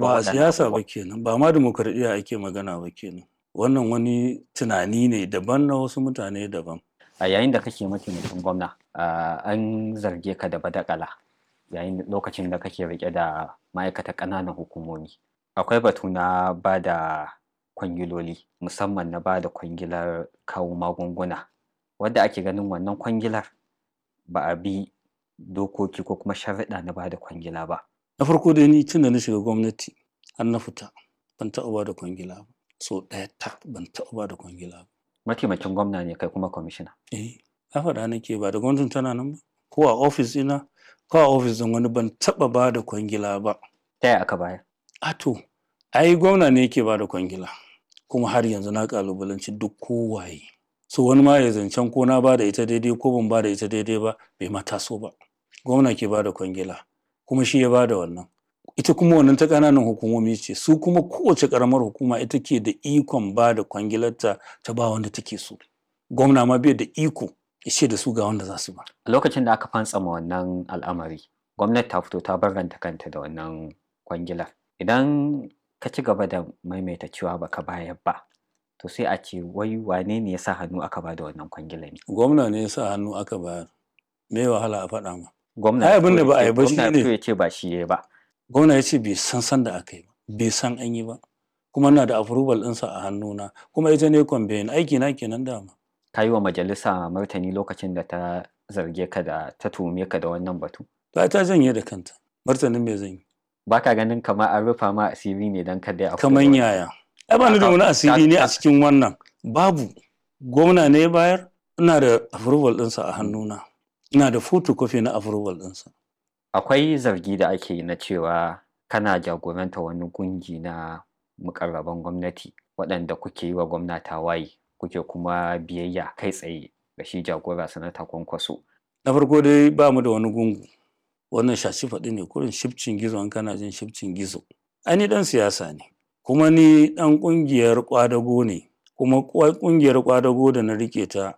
Ba a waɗannan siyasa abubuwa. ba kenan, ba ma dimokuraɗiyya ake magana ba kenan. Wannan wani tunani ne daban na wasu mutane daban. A yayin da kake mataimakin gwamna, an zarge ka da badakala yayin lokacin da kake riƙe da ma'aikatar ƙananan hukumomi. Akwai batu na ba da kwangiloli, musamman na ba da kwangilar kawo magunguna, wadda ake ganin wannan kwangilar ba a bi dokoki ko kuma sharuɗa na ba da kwangila ba. Na farko dai, ni tun da na shiga gwamnati har na fita, ban taɓa ba da kwangila ba. So ɗaya tak ban taɓa ba da kwangila ba. Mataimakin gwamna ne kai kuma kwamishina. Eh, na faɗa nake, ba da gwamnatin tana nan ba. Ko a ofis ɗina ko a ofis ɗin wani, ban taɓa ba da kwangila ba. Ta yaya aka bayar? A to, ai gwamna ne yake ba da kwangila. Kuma har yanzu na ƙalubalanci duk kowaye. So wani ma ya zancen ko na ba da ita daidai ko ban ba da ita daidai ba, bai ma taso ba. Gwamna ke ba da kwangila, kuma shi ya ba da wannan. Ita kuma wannan ta ƙananan hukumomi ce, su kuma kowace ƙaramar hukuma ita ke da ikon ba da kwangilarta ta ba wanda take so. Gwamna ma bai da iko ya ce da su ga wanda za su ba. A lokacin da aka fantsama wannan al'amari, gwamnati ta fito ta barranta kanta da wannan kwangilar. Idan ka ci gaba da maimaita cewa baka bayar ba, to sai a ce wai wane ne ya sa hannu aka ba da wannan kwangilar ne? Gwamna ne ya sa hannu aka bayar. Me wahala a faɗa ma? Gwamna Ai ya abin fito da ba ya a ce yi ba gwamna ya shine fito ya ce ba shi ya yi ba. Gwamna ya ce bai san sanda aka yi ba, bai san an yi ba. Kuma ina da approval ɗinsa a hannuna, kuma ita ne conveying aiki na kenan dama. Ka yi wa majalisa martani lokacin da ta zarge ka da ta tuhume ka da wannan batu. Ta ta janye da kanta. Martanin me zan yi? Ba ka ganin kamar an rufa ma asiri ne don kada a fito da Kaman wannan? yaya? Ai ba ni da Ka wani ka asiri ne a ka cikin wannan. Babu. Gwamna ne ya bayar, ina da approval ɗinsa a hannuna. Ina da photocopy na approval ɗinsa. Akwai zargi da ake yi na cewa kana jagoranta wani gungi na muƙarraban gwamnati waɗanda kuke yi wa gwamna tawaye, kuke kuma biyayya kai tsaye ga shi jagora Sanata Kwankwaso. Na farko dai, ba mu da wani gungu. Wannan shaci faɗi ne kurin, shifcin gizo in kana jin shifcin gizo. Ai ni ɗan siyasa ne, kuma ni ɗan ƙungiyar ƙwadago ne, kuma ƙungiyar ƙwadago da na riƙe ta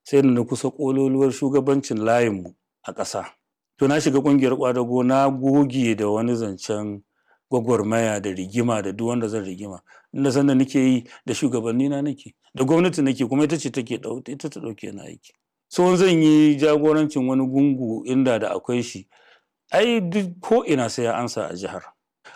sai da na kusa ƙololuwar shugabancin layinmu a ƙasa. To na shiga ƙungiyar ƙwadago, na goge da wani zancen gwagwarmaya da rigima da duk wanda zan rigima. Inda sanda nake yi da shugabanni na nake, da gwamnati nake, kuma ita ce take ita ta ɗauke ni aiki. So in zan yi jagorancin wani gungu inda da akwai shi, ai duk ko ina sai ya ansa a jihar.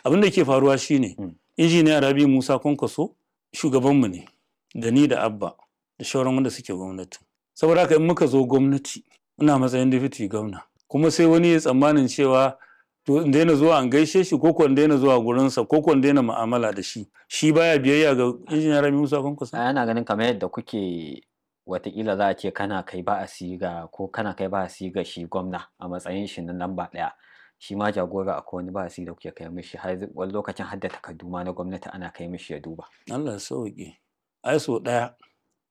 Abin da ke faruwa shine Injiniya Rabi Musa Kwankwaso shugabanmu ne, da ni da Abba da shauran wanda suke gwamnati. Saboda haka in muka zo gwamnati, ina matsayin deputy gwamna. Kuma sai wani ya tsammanin cewa to in daina zuwa an gaishe shi, ko ko in daina zuwa gurinsa, ko ko in daina mu'amala da shi. Shi baya biyayya ga Injiniya Rabi Musa Kwankwaso. Ai ana ganin kamar yadda kuke, watakila za a ce kana kai ba'asi ga ko kana kai ba'asi ga shi gwamna a matsayin shi na lamba ɗaya. Shi ma jagora akwai wani ba'asi da kuke kai mishi, har wani lokacin har da takardu ma na gwamnati ana kai mishi ya duba. Allah ya sauke. Ai so ɗaya,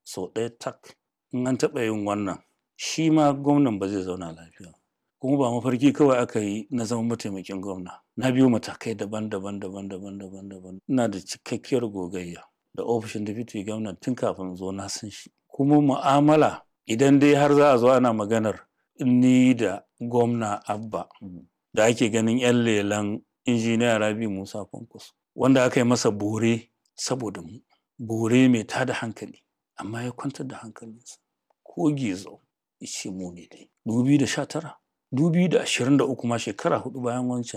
so ɗaya tak in an taɓa yin wannan, shi ma gwamnan ba zai zauna lafiya ba. Kuma ba mafarki kawai aka yi na zama mataimakin gwamna. Na biyo matakai daban-daban daban-daban daban-daban. Ina da cikakkiyar gogayya da ofishin deputy gwamna tun kafin in zo, na san shi. Kuma mu'amala, idan dai har za a zo ana maganar ni da gwamna Abba da ake ganin 'yan lelan Injiniya Rabi Musa Kwankwaso, wanda aka yi masa bore saboda mu, bore mai tada hankali, amma ya kwantar da hankalinsa. Ko gizo ya ce mu ne dai. 2019, 2023 ma, shekara 4 bayan wancan.